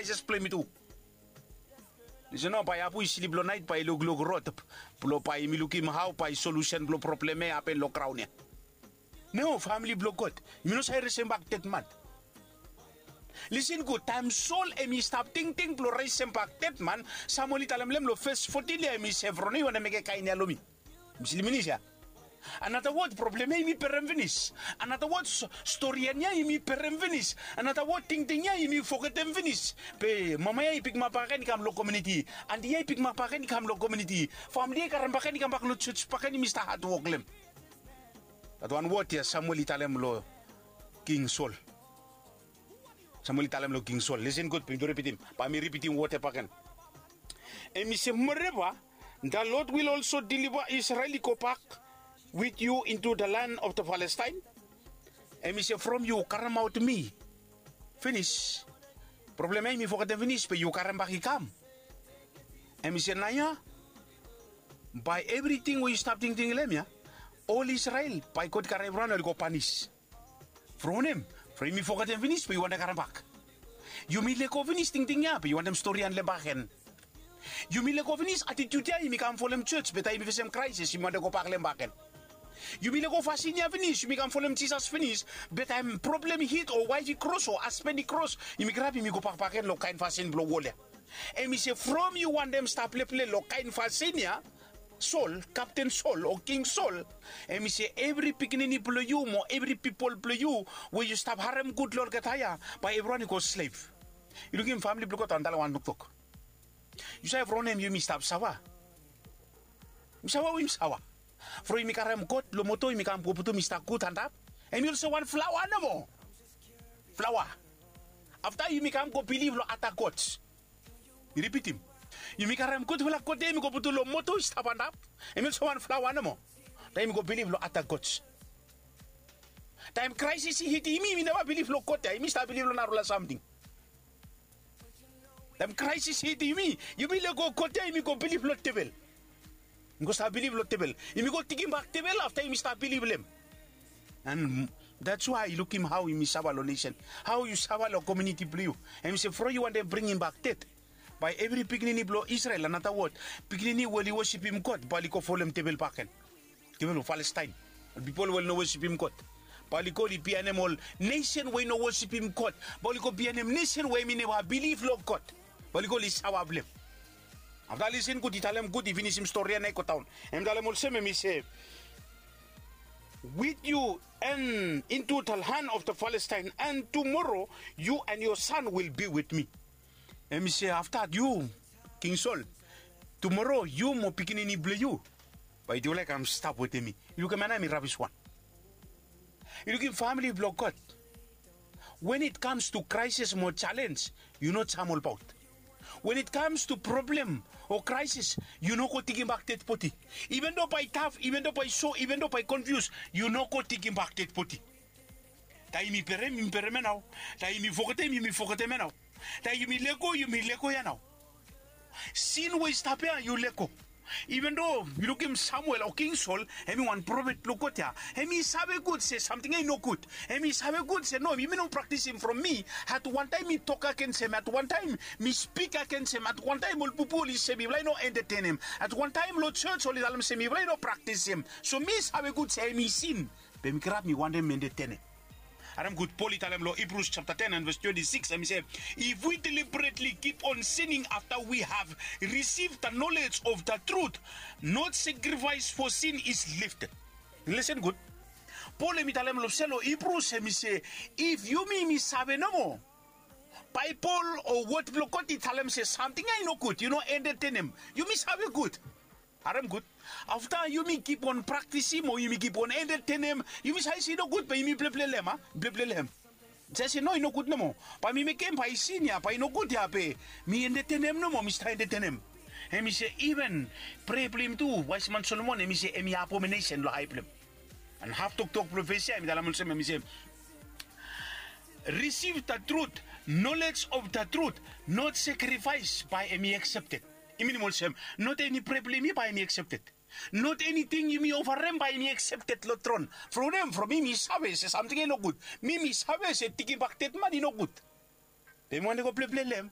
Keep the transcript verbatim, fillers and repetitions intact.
Kraes blong yumi tu. Lisen, no bae abu i slip long naet bae i lukluk rod blong bae yumi lukim hao bae solusen blong problem ya i hapen long graon ya. No, famili blong God, yumi no save resembak dedman. Lisen gud, taem Sol hem i stap tingting blong resembak dedman, Samuel i talem long hem long ves fotin ya, hem i se, Efron, yu wantem mekem kaen ya long mi? Hem i slim finis ya. Another word, problem ya yumi berem finis. Another word, storian ya yumi berem finis. Another word, tingting ya yumi fogetem finis. Be mama ya i pikimap bakegen i kam long komuniti. Anti ya i pikimap bakegen i kam long komuniti. Famili ya i karem bakegen i kambak long jos bakegen, yumi stap hatwok long hem. That wan wod ya Samuel i talem long King Sol. Samuel i talem long King Sol. Lisen gud, be mi tu ripitim. Bae mi ripitim wod ya bakegen. Hem i se, moreover, the Lord will also deliver Israel i go back with you into the land of the Palestine. Hem i se, from yu karemaot mi finis, problem ya yumi fogetem finis, be yu karem bak i kam. Hem i se, naoia bae evriting we yu stap tingting long hem ya, ol Israel, bae God i karem evriwan oli go panis. From wanem? From yumi fogetem finis be yu wantem karem bak. Yumi lego finis tingting ya be yu wantem storian long hem bakegen. Yumi lego finis atitiud ya yumi kam folem jos, be taem yumi fesem kraesis yumi wantem gobak long hem bakegen. Yumi lego fasin ya finis, yumi kam folem Jisas finis, be taem problem i hit o waef i kros o hasben i kros, yumi grab, yumi gobak bakegen long kaen fasin blong wol ya. Hem i se, from yu wantem stap pleple long kaen fasin ya, Sol, Kapten Sol o King Sol, hem i se, evri pikinini blong yu mo evri pipol blong yu we yu stap harem gud long olgeta ya, bae evriwan i go slev. Yu lukim, famili blong God, antala wan toktok. Yu save from wanem yumi stap safa? Yumi safa we yumi safa? From yumi karem God long moto, yumi kam go putum i stap gud antap, hem i olsem wan flaoa nomo. Flaoa. Afta yumi kam go bilif long ada gods. Mi ripitim. Yumi karem gudfala God ya yumi go putum long moto i stap antap, hem i olsem wan flaoa nomo. Taem yumi go bilif long ada gods, taem kraesis i hitim yumi, yumi neva bilif long God ya, yumi stap bilif long narafala samting. Taem kraesis i hitim yumi, yumi lego God ya, yumi go bilif long devel. Yumi go stap bilif long devel. Yumi go tekimbak devel afta yumi stap bilif long hem. And that's why yu lukim hao yumi safa long nesen, hao yu safa long komuniti blong yu. Hem i se, from yu wantem bringimbak ded, bae evri pikinini blong Israel, another word, pikinini we oli wosipim God, bae oli go folem devel bakegen. Devel blong Palestaen. Ol pipol we oli no wosipim God, bae oli go oli bianem ol nesen we i no wosipim God, bae oli go bianem nesen we hemi neva bilif long God, bae oli go oli safa blong hem. Afta lisen gud, i talem gud, i finisim stori ya nao i godaon. Hem i talem olsem, hem i se, with you and into the land of the Palestine, and tomorrow you and your son will be with me. Hem i se, afta yu, King Sol, tumoro yu mo pikinini blong yu bae yufala i kam stap wetem mi. Yu lukim, ya nao hemi rabis wan. Yu lukim, famili blong God, when it comes to crisis mo challenge, yu no jam olbaot. When it comes to problem o crisis, yu no go tekimbak ded bodi. Even though bae i taf, even though bae i so, even though bae i konfius, yu no go tekimbak ded bodi. Taem yumi berem, yumi berem ya nao. Taem yumi fogetem, yumi fogetem ya nao. Taem yumi lego, yumi lego ya nao. Sin we i stap ya, yu lego. Even though yu lukim Samuel o King Sol, hemi wan profet blong God ya, hemi save gud se samting ya i nogud. Hemi save gud se no, yumi no praktisim from mi. At wantaem mi tok agens hem, at wantaem mi spik agens hem, at wantaem ol pipol i se mifala i no entetenem, at wantaem long jos oli talem se mifala i no praktisim. So mi save gud se hemi sin, be mi kirap mi wantem entetenem. Harem gud, Pol i talem long Hebrews chapter ten and verse twenty-six, hemi se, if we deliberately keep on sinning after we have received the knowledge of the truth, no sacrifice for sin is lifted. Listen gud. Pol hemi talem long sel long Hebrews, hemi se, if yumi, yumi save nomo Baebol o wod blong God i talem se samting ya i nogud, yu no entetenem. Yumi save gud. Harem gud. Afta yumi kip on praktisim o yumi kip on entetenem, yumi save se i nogud, be yumi pleple long hem, a? Pleple long hem. Save se no, i nogud nomo. Bae mi mekem, bae i sin ya, bae i nogud ya, be mi entetenem nomo, mi stap entetenem. Hemi se iven prea blong yumi tu, waesman Solomon hemi se hemi abominesen long ae blong hem. And haf toktok blong ves ya hemi talem olsem, hemi se, receive the truth, knowledge of the truth, not sacrifice, bae hemi accepted. I minim olsem, not eni prea blong yumi, bae hemi accepted. Not eniting yumi ofarem, bae hemi accepted long tron. From wanem? From mi, mi save se samting ya i nogud. Mi, mi save se tekimbak dedman i nogud. Be mi wantem go pleple long hem.